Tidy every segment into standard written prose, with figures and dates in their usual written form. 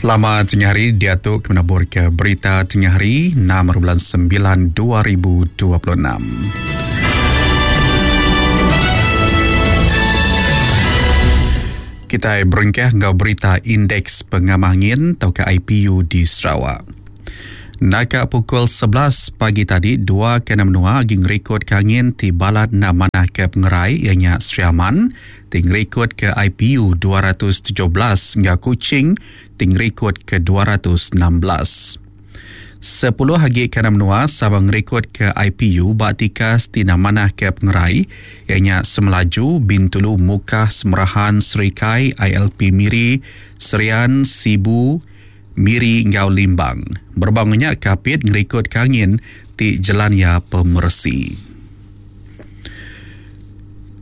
Selamat tengah hari diatu ke menabur ke berita tengah hari 6 bulan 9 2026. Kitai berengkah enggau berita Indeks Pengamah Angin tauka IPU di Sarawak. Naka pukul 11 pagi tadi, dua kena menua agi ngerikod ke angin ti balat enda manah ke pengerai iya nya Sri Aman ti ngerikod ke IPU 217 enggau Kuching ti ngerikod ke 216. Sepuluh agi kandang menua sama ngerikodka IPU ba tikas ti enda manah ke pengerai iya nya Semelaju, Bintulu, Mukah, Semerahan, Serikai, ILP Miri, Serian, Sibu, Miri enggau Limbang. Berebak enggau nya, Kapit ngerikodka angin ti jelan iya pemeresi.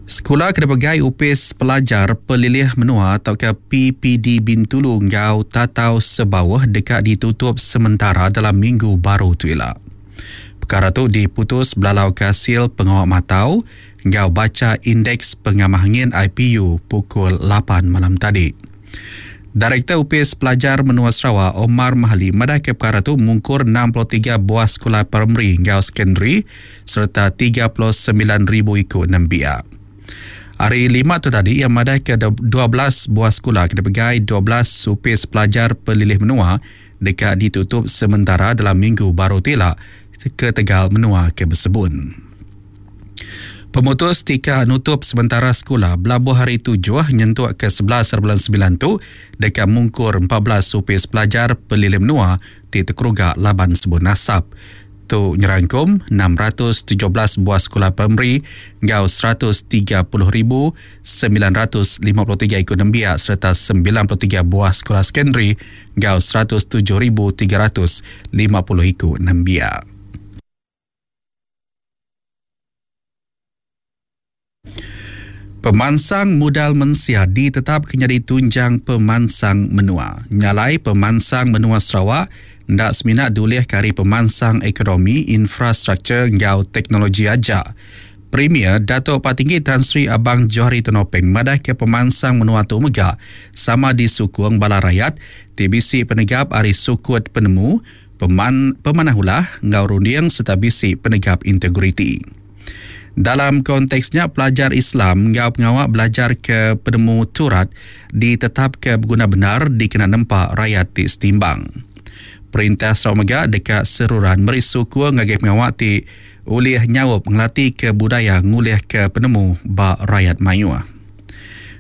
Sekula ke dipegai Opis Pelajar Pelilih Menua tauka PPD Bintulu enggau Tatau Sebauh deka ditutup sementara dalam minggu baru tu ila. Pekara tu diputus belalauka asil pengawa matau enggau bacha Indeks Pengamah Angin IPU pukul lapan malam tadi. Direktor Opis Pelajar Menua Sarawak, Omar Mahali madahka pekara tu mungkur 63 buah sekula primari enggau sekondari sereta 39,000 iku nembiak. Hari Lima tu tadi, iya madahka 12 buah sekula ke dipegai 12 Opis Pelajar Pelilih Menua deka ditutup sementara dalam minggu baru ti ila ketegal menua ke besebun. Pemutus tika nutup sementara sekula belabuh hari tujuh nyentuk ke 11 bulan semilan tu deka mungkur 14 opis pelajar pelilih menua ti tekeruga laban sebun asap. Tu nyerangkum 617 buah sekula primari enggau 130,953 iku nembiak sereta 93 buah sekula sekondari enggau 107,350 iku nembiak. Pemansang mudal mensia ditetapka nyadi tunjang pemansang menua. Nya alai pemansang menua Sarawak enda semina diulihka ari pemansang ekonomi, infrastruktur enggau teknologi aja. Premier Datuk Patinggi Tan Sri Abang Johari Tun Openg madahka pemansang menua tu mega sama disukung bala rayat ti bisi penegap ari sukut penemu, Peman, pemanah ulah enggau runding sereta bisi penegap integriti. Dalam konteks nya, pelajar Islam enggau pengawa belajarka penemu Turat ditetapka beguna bendar dikena nempa rayat ti setimbang. Perintah Sarawak mega deka seruran meri sukung ngagai pengawa ti ulih nyaup ngelatika budaya ngulihka penemu ba rayat mayuh.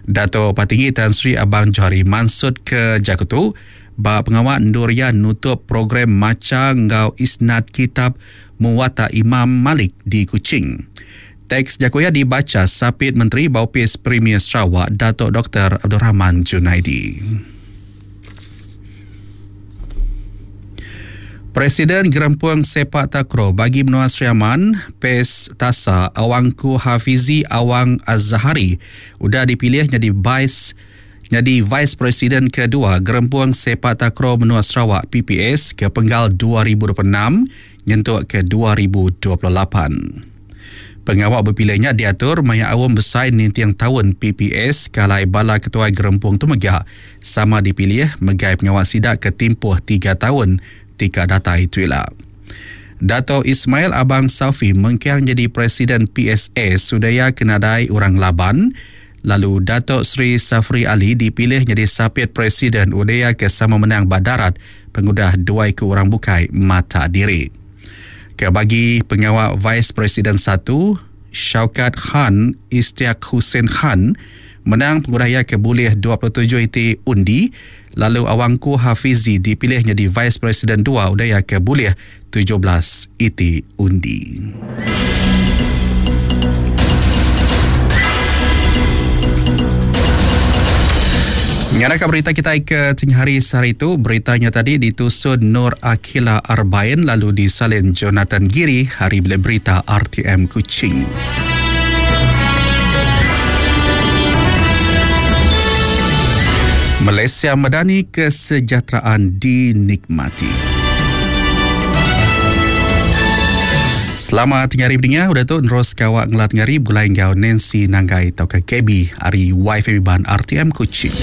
Dato Patinggi Tan Sri Abang Johari mansutka jaku tu ba pengawa endur iya nutup program macha enggau isnad kitab Muwatta Imam Malik di Kuching. Teks jaku iya dibacha Sapit Menteri ba Opis Premier Sarawak Datuk Doktor Abdul Rahman Junaidi. Presiden Gerempung Sepak Takraw Bagi Menua Sri Aman, PES Tasa, Awangku Hafizi Awang Azahari udah dipilih nyadi Vice nyadi Vice Presiden kedua Gerempung Sepak Takraw Menua Sarawak, PPS, ke penggal 2026 nyentuk ke 2028. Pengawa bepilih nya diatur maya aum besai ninting taun PPS ke alai bala ketuai gerempung tu mega sama dipilih megai pengawa sida ke timpuh tiga taun ti ka datai tu ila. Dato Ismail Abang Safi mengkang nyadi Presiden PSS udah iya ke nadai orang ngelaban lalu Dato Sri Safri Ali dipilih nyadi Sapit Presiden udah iya ke sama menang ba darat pengudah dua iku orang bukai matak diri. Ke bagi pengawa Vice Presiden satu, Shaukat Khan Istiaq Hussein Khan menang pengudah iya ke bulih 27 iti undi lalu Awangku Hafizi dipilih nyadi Vice Presiden dua udah iya ke bulih 17 iti undi. Ngaraka berita kitai ke tengah hari sehari tu, berita nya tadi ditusun Nur Akila Arbain lalu disalin Jonathan Giri hari Bilik Berita RTM Kuching. Malaysia Madani kesejahteraan dinikmati. Selamat tengah hari pendengar, udah tu nerus kawak ngelat tengah hari begulai enggau Nancy Nanggai tauka KB ari YFM Iban RTM Kuching.